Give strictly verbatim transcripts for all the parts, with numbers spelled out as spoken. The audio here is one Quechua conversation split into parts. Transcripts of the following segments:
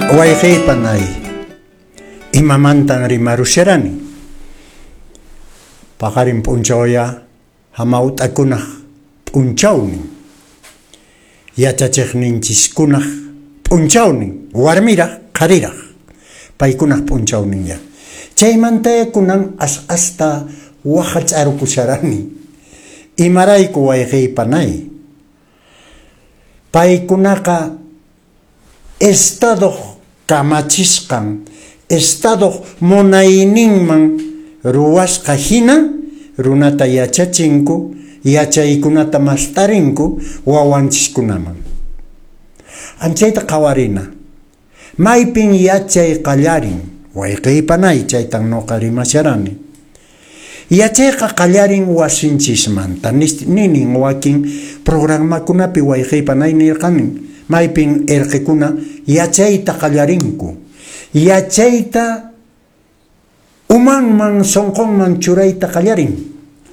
Wayqey panay, imamantan rimarusharani? Paqarin p'unchawya hamawt'akunaq p'unchawnin, yachachiqninchiskunaq p'unchawnin, warmiraq qhariraq paykunaq p'unchawninya. Chaymantaya kunan as asta waqach'arukusharani. Imarayku, wayqey panay? Paykunaqa Estadoq kamachisqan, Estadoq munayninman ruwasqa hina runata yachachinku, yachaykunata mast'arinku wawanchiskunaman. Anchayta qhawarina. Maypin yachay qallarin, wayqey panay, chaytan noqa rimasharani. Yachayqa qallarin wasinchismanta, ninin wakin programakunapi, wayqey panay, nirqanin, maypin erqekuna yachayta qallarinku, yachayta umanman sonqonman churayta qallarin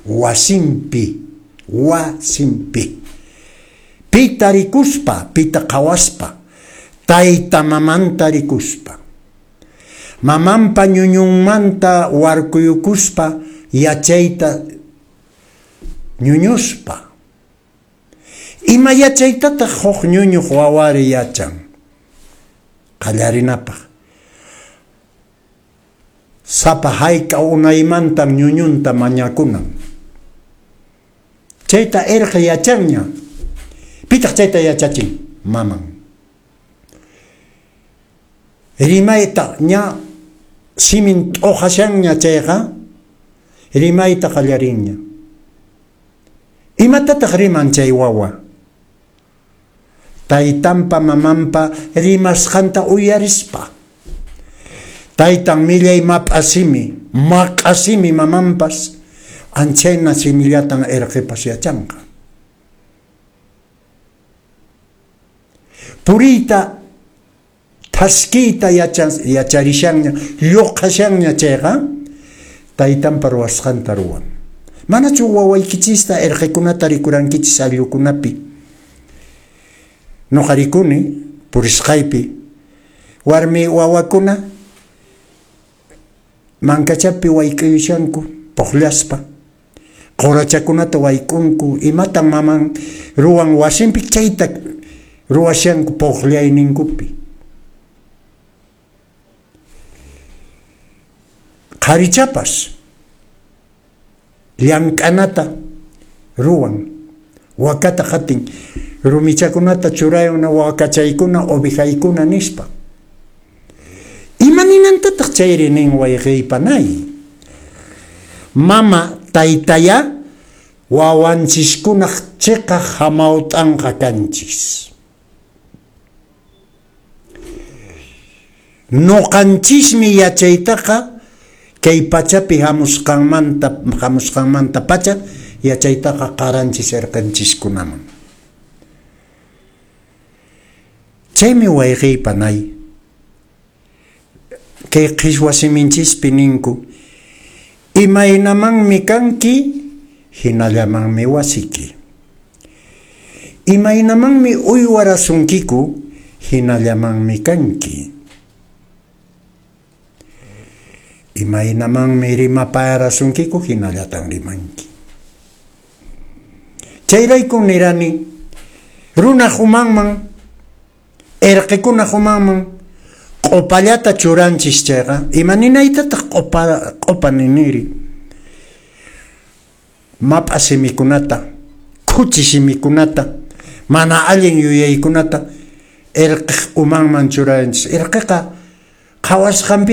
wasinpi, wasinpi. Pita rikuspa, pita qhawaspa, tayta mamanta rikuspa, mamanpa ñuñunmanta warkuyukuspa, yachayta ñuñuspa. Ima yachaytataq huk ñuñuq wawari yachan? Qallarinapaq, sapa hayk'a unaymantan ñuñunta mañakunan. Chayta erqe yachanña. Pitaq chayta yachachin? Maman. Rimayta ña simin t'uqashanña chayqa, rimayta qallarinña. Imatataq riman chay wawa? Taytanpa mamanpa rimasqanta uyarispa. Taytan millay map'a simi, maq'a simi, mamanpas anchayna simillatan erqepas yachanqa. Puriyta thaskiyta yacharishanña, lluqhashanña chayqa, taytanpa ruwasqanta ruwan. Manachu wawaykichista erqekunata rikurankichis ayllukunapi? Noqa rikuni purisqaypi warmi wawakuna mankachapi wayk'uyushanku puqllaspa, qurachakunata wayk'unku, imatan maman ruwan wasinpi chayta ruwashanku puqllayninkupi. Qharichapas llank'anata ruwan, wakata qatin, rumichakunata churayuna wakachaykuna ovejaykuna nispa. Ima ninantataq chayri nin, wayqey panay? Mama taytaya wawanchiskunaq chiqaq hamawt'anqa kanchis. Noqanchismi yachaytaqa kay pachapi hamusqanmanta hamusqanmanta pacha yachaytaqa qaranchis erqenchiskunaman. Chaymi, wayqey panay, kay qhichwa siminchispi ninku, imaynamanmi kanki, hinallamanmi wasiki. Imaynamanmi uywarasunkiku, hinallamanmi kanki. Imaynamanmi rimapayarasunkiku, hinallatan rimanki. Chayraykun nirani, runaq umanman, erqekunaq umanman q'opallata churanchis chayqa, ima ninaytataq q'opa q'opa niniri? Map'a simikunata, khuchi simikunata, mana allin yuyaykunata erqeq umanman churanchis. Erqeqa qhawasqanpi